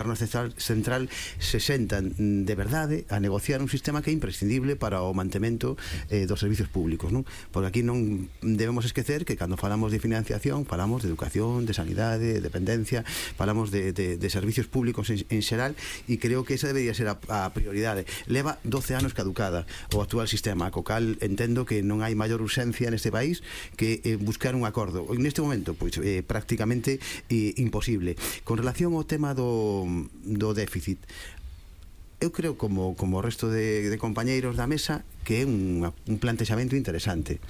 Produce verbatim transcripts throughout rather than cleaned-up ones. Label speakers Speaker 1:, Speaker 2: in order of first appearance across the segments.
Speaker 1: Central, central se sentan de verdade a negociar un sistema que é imprescindible para o mantemento eh, dos servicios públicos, non? Porque aquí non debemos esquecer que cando falamos de financiación falamos de educación, de sanidade, de dependencia, falamos de, de, de servicios públicos en, en xeral, e creo que esa debería ser a, a prioridade. Leva doce anos caducada o actual sistema, co cal entendo que non hai maior urxencia neste país que eh, buscar un acordo. Neste momento, pois, eh, prácticamente eh, imposible. Con relación ao tema do do déficit, eu creo, como, como o resto de, de compañeiros da mesa, que é un, un plantexamento interesante.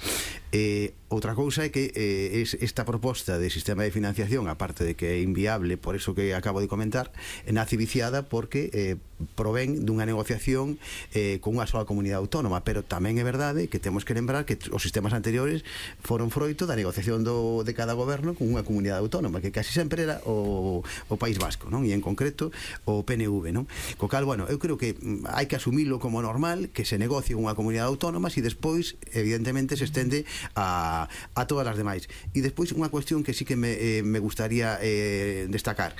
Speaker 1: Eh, outra cousa é que eh, es, esta proposta de sistema de financiación, aparte de que é inviable, por eso que acabo de comentar, nace viciada porque eh, provén dunha negociación eh, con unha sola comunidade autónoma, pero tamén é verdade que temos que lembrar que os sistemas anteriores foron froito da negociación do, de cada goberno con unha comunidade autónoma, que casi sempre era o, o País Vasco, non? E en concreto o P N V, non? Co cal, bueno, eu creo que hai que asumilo como normal, que se negocie unha comunidade autónoma e despois, evidentemente, se estende a, a todas as demais. E despois unha cuestión que sí que me, eh, me gustaría eh, destacar.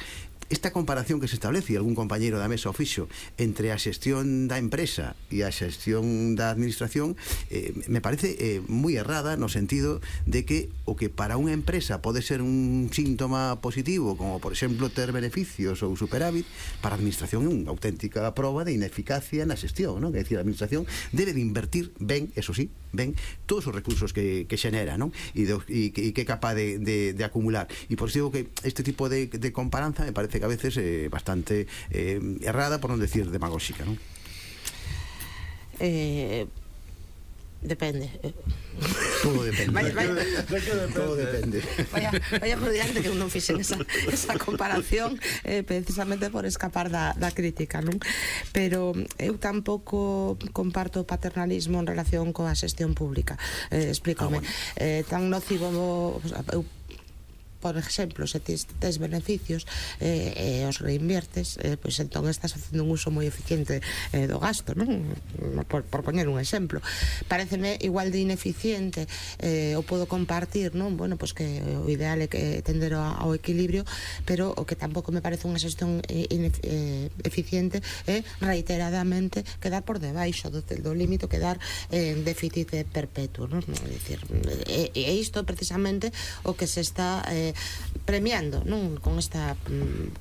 Speaker 1: Esta comparación que se establece, e algún compañeiro da mesa o fixo, entre a xestión da empresa e a xestión da administración, eh, me parece eh, moi errada, no sentido de que o que para unha empresa pode ser un síntoma positivo, como por exemplo ter beneficios ou superávit, para a administración é unha auténtica prova de ineficacia na xestión, non? É dicir, a administración debe de invertir ben, eso sí, ben, todos os recursos que, que xenera, non? E, do, e, e que é capaz de, de, de acumular. E por iso digo que este tipo de, de comparanza me parece que a veces eh, bastante eh, errada, por non decir demagóxica, non?
Speaker 2: Eh, depende.
Speaker 1: Todo depende.
Speaker 2: Vaya, vaya,
Speaker 1: todo depende.
Speaker 2: Vaya, vaya por diante que eu non fixen esa, esa comparación eh, precisamente por escapar da, da crítica, non? Pero eu tampouco comparto o paternalismo en relación coa xestión pública. Eh, explícame. Ah, bueno. eh, tan nocivo, eu por exemplo, se tes, tes beneficios e eh, os reinviertes, eh, pois entón estás facendo un uso moi eficiente eh, do gasto, non? Por, por poñer un exemplo. Pareceme igual de ineficiente, eh, o podo compartir, non? Bueno, pois que o ideal é que tender ao, ao equilibrio, pero o que tampouco me parece unha xestión eh, eh, eficiente é reiteradamente quedar por debaixo do, do límite, quedar eh, en déficit perpetuo, non? É dicir, e, e isto precisamente o que se está eh, premiando, non? Con esta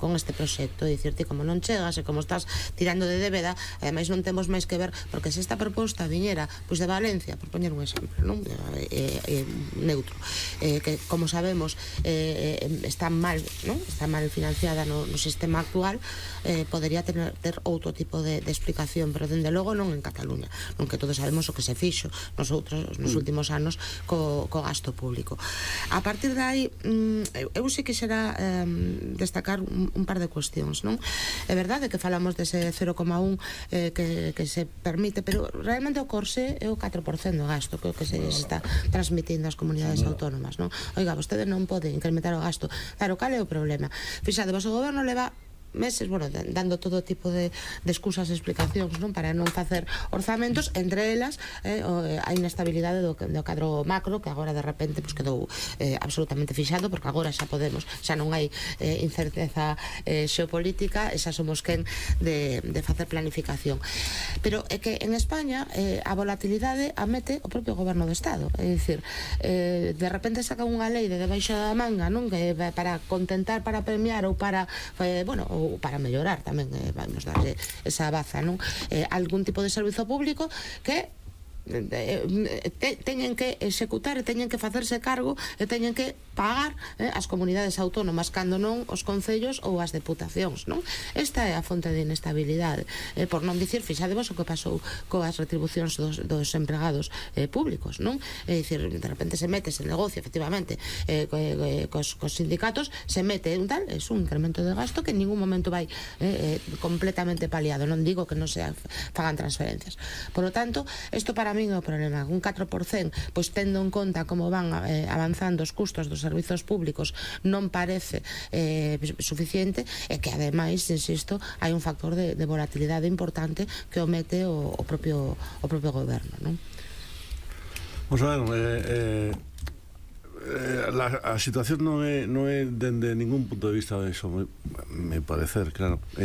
Speaker 2: con este proxecto, é dicir, ti como non chegas e como estás tirando de débeda, ademais non temos máis que ver, porque se esta proposta viñera pois de Valencia, por poñer un exemplo, non? Eh, eh, neutro, eh, que como sabemos eh, está mal, non? Está mal financiada no, no sistema actual, eh, podería ter, ter outro tipo de, de explicación, pero dende logo non en Cataluña, non, que todos sabemos o que se fixo nosotros nos últimos anos co, co gasto público. A partir de aí, mm, eu sí que xera eh, destacar un, un par de cuestións, non? É verdade que falamos dese cero coma un eh, que, que se permite, pero realmente o corsé é o catro por cento do gasto que, que se está transmitindo ás comunidades autónomas, non? Oiga, vostede non pode incrementar o gasto. Claro, cal é o problema? Fixade, vos o goberno leva meses, bueno, dando todo tipo de, de excusas e explicacións, non? Para non facer orzamentos, entre elas eh, a inestabilidade do, do cadro macro, que agora de repente pues, quedou eh, absolutamente fixado, porque agora xa podemos, xa non hai eh, incerteza eh, xeopolítica, e xa somos quen de, de facer planificación. Pero é que en España eh, a volatilidade a mete o propio goberno do Estado, é dicir, eh, de repente saca unha lei de debaixo da manga, non? Que para contentar, para premiar ou para, eh, bueno, ou para mellorar tamén, eh, vamos darlle esa baza, non? Eh, algún tipo de servizo público que te, teñen que executar e teñen que facerse cargo e teñen que pagar eh, as comunidades autónomas, cando non os concellos ou as deputacións, non? Esta é a fonte de inestabilidade, eh, por non dicir, fixadevos o que pasou coas retribucións dos, dos empregados eh, públicos, non? É dicir, de repente se mete ese negocio, efectivamente, eh, eh, cos, cos sindicatos, se mete un tal, é un incremento de gasto que en ningún momento vai eh, eh, completamente paliado. Non digo que non se fagan transferencias. Por lo tanto, isto para mí é o problema. Un catro por cento, pois tendo en conta como van eh, avanzando os custos dos servizos públicos, non parece eh, suficiente, e que ademais, insisto, hai un factor de, de volatilidade importante que o mete o, o propio o propio goberno, non?
Speaker 3: Vamos a ver, eh, eh, eh, la, a situación non é, non é dende ningún punto de vista de eso, me, me parecer, claro. Eh,